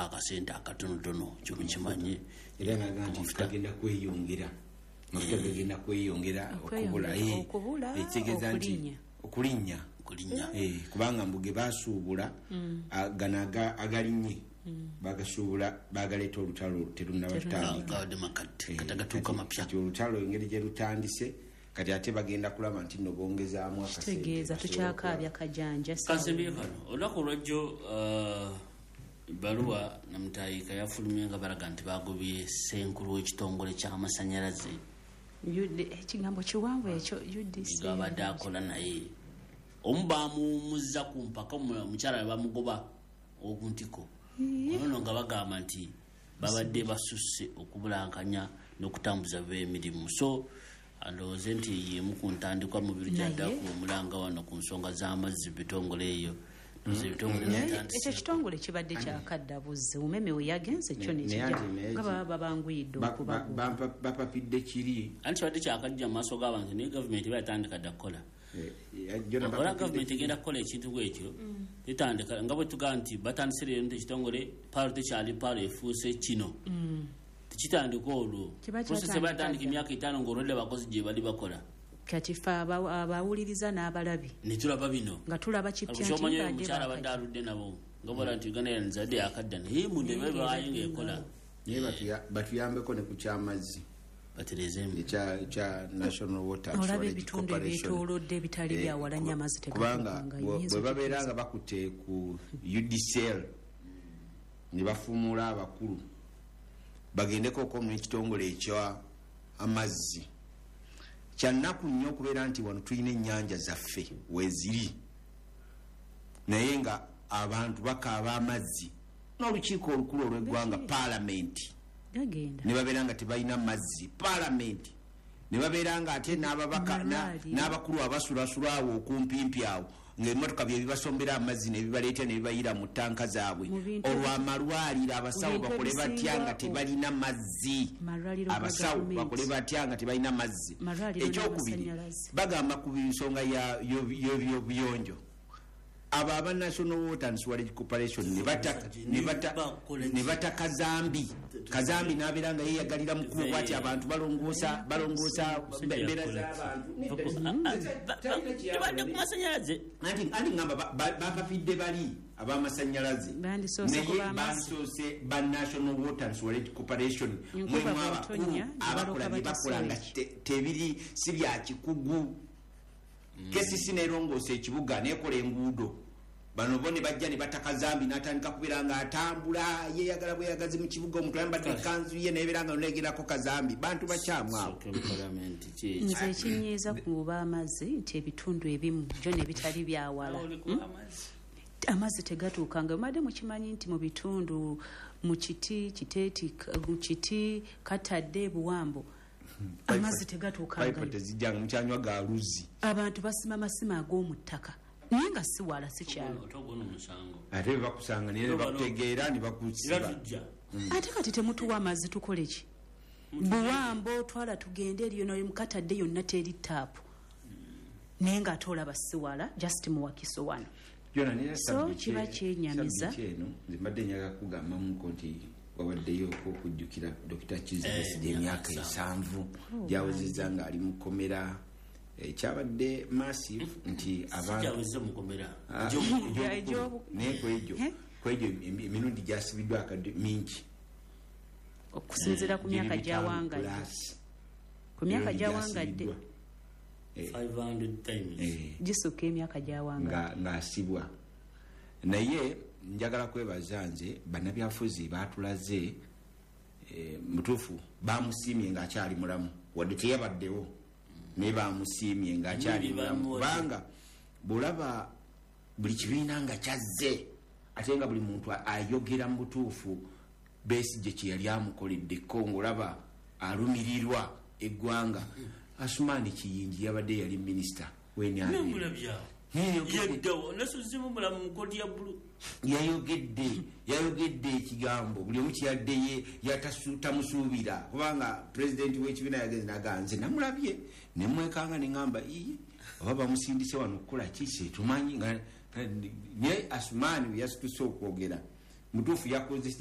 Akasente akatonotono kyomukimanyi. Era naga nti kagenda kweyongera, mafuta gagenda kweyongera okubula. Okubula, ekitegeeza nti okulinnya. Okulinnya. Okulinnya. Kubanga mbu ge basuubula, gano agalinnye bagasuubula, bagaleeta olutalo terunaba tutandika. Gabadde makadde, kati agatuuka mapya. Kati olutalo engeri gye lutandise kati, ate bagenda kulaba nti nno bongezaamu akasente kitegeeza basobole tukyakaabya kajanja. Kansembye kano, olunaku olwajjo baluwa namutayika yafulumye nga balaga nti bagobye senkulu w'ekitongole ky'amasanyalaze. Ekigambo kiwanvu ekyo, UDC. Gabadde akola naye omu bamuwumuzza ku mpaka, omukyala ne bamugoba okuntiko onono nga bagamba nti babadde basusse okubulankanya n'okutambuza emirimu. So ndowooze nti yemu ku ntandikwa mu biro gyaddaku omulanga wano ku nsonga z'amazzi mu bitongole eyo. Ndowooza ebitongole Naye bitandise. Ekyo kitongole kibadde kyakadda buzzi, umeme we yagenze kyo Naye nekijja anti naye nga baba babanguyidde okubagoba. Bapapidde kiri. Anti kibadde kyakajja mu maaso g'abantu, naye gavumenti eba yatandika dda kukola. Jona Ola bapapidde gavumenti kiri. egenda kukola ekintu bwekyo, tetandika nga bwe tugamba nti batandise leero nti ekitongole paalo tekyali paalo, efuuse kino, tekitandika olwo. Kiba Process eba kyatandika yatandika dda. emyaka 50 ng'olwedde abakozi gye bali bakola. Kati fe abawuliriza n'abalabi ne tulaba bino nga tulaba kipya nti kyomanyi oyo badde omukyala abadde bakajja. aludde nabo nga bola nti Uganda Airlines adde yakadda, naye munda eba ebaayo ng'ekola. Naye batuyambeko ne ku kyamazzi baterezeemu. Ekya National Water Olaba Sewerage ebitundu Corporation. ebyetoolodde ebitali byawala nnyo, amazzi Kubanga tegatuukangayo. bwe babeera nga bakutte ku UDCL ne bafuumuula abakulu, bagendeko okomu n'ekitongole ekya amazzi. Kyannaku nnyo okubeera nti wano tulina ennyanja zaffe weeziri, naye nga abantu bakaaba amazzi, n'olukiiko olukulu olw'eggwanga, paalamenti, gagenda ne babeera nga tebalina mazzi, paalamenti ne babeera nga ate n'ababaka Malwaliro. n'abakulu abasulasula awo okumpimpi awo, ng'emmotoka bye bibasombera amazzi ne bibaleeta ne bibayira mu ttanka zaabwe. Mu bintu Olwo amalwaliro, abasawo mu bintu bakole batya ebisinga nga tebalina mazzi? Malwaliro ga Abasawo gavumenti. bakole batya nga tebalina mazzi? Malwaliro Ekyokubiri, n'amasannyalaze. bagamba ku nsonga y'ebyobuyonjo, abo aba National Water and Sewerage Corporation Bakola ki? ne bata kazambi, kazambi n'abeera nga yeeyagalira mukulu bwati, abantu balongoosa embeera z'abantu. Tubadde ku masanyalaze. Anti ngamba bapapidde bali ab'amasannyalaze. Bandisoose Naye ku b'amazzi. bandisoose ba National Water and Sewerage Corporation. Enkuba Mwemu abakulu bw'etonnya, ne abakola baloka bye bakola nga bata tebiri si bya kikugu. KCC nerongoosa ekibuga, nekola enguudo, bano bo ne bajja ne bata kazambi n'atandika kubeera nga atambula yeyagala bweyagazi mu kibuga, omuntu ayambadde ekanzu ye nebeera nga nonegerako kazambi. Bantu bakyamu abo. Sooke mu palamenti ki? Nze ekinyiiza ku b'amazzi nti ebitundu ebimu gyo ne bitali byawala, Oli ku amazzi. Amazzi tegatuukanga. Mubadde mukimanyi nti mu bitundu mu kiti kiteeti, mu kiti katadde buwambo, amazzi Payipo tegatuukangayo? Tezijjanga mukyanywa ga luzzi. Abantu basima masima ag'omu ttaka, naye nga si wala, si kyalo. Ate ogwo musango. Ate bwe bakusanga naye ne bakutegeera ne Era bakusiba. tujja. Ate kati temutuwa amazzi, tukole ki? Buwambo twala tugende eriyo nayo mukatadde yonna teri taapu, naye ng'ate olaba si wala, just muwakiso wano. Jona, nera So, kiba kyenyamiza. Sabbiiti eno nze mbadde njagala kugambamuko nti wabaddeyo okujjukira Dr. Kiza Besigye, emyaka 70 gyawezezza ng'ali mukomera. Kyabadde massive nti abantu Sikyaweze mukomera. Ah, Egy'obukulu. egy'obukulu. Naye kwegyo Eh? kwegyo emirundi gyasibiddwa akadde mingi. Okusinziira ku myaka Giri 5 gyawangadde plus. ku myaka Emirundi gyawangadde gyasibiddwa. 500 times. Gisukka emyaka gyawangadde. Ng'asibwa. Naye njagala kwebaza nze bannabyafuzi batulaze, mutuufu bamusiimye ng'akyali mulamu, wadde teyabaddewo, naye bamusiimye ng'akyali Buli mulamu, bamuwadde. kubanga bw'olaba buli kibiina nga kyazze, ate nga buli muntu ayogera mu butuufu Besigye kye yali amukoleddeko, ng'olaba alumirirwa eggwanga. Asumaani Kiyingi yabadde yali minisita w'NRM. Namulabyawo. Yeddawo nasuzimu mulamu mu kooti ya bulu. Yayogedde ekigambo buli omu kiyadde ye tamusuubira, kubanga pulezidenti w'ekibiina yagenze nagaa, nze namulabye nemwekanga neŋamba, iye oba bamusindise wano okukola ki setumanyi. Naye Asumaani we yasituse okwogera mutuufu yakoze.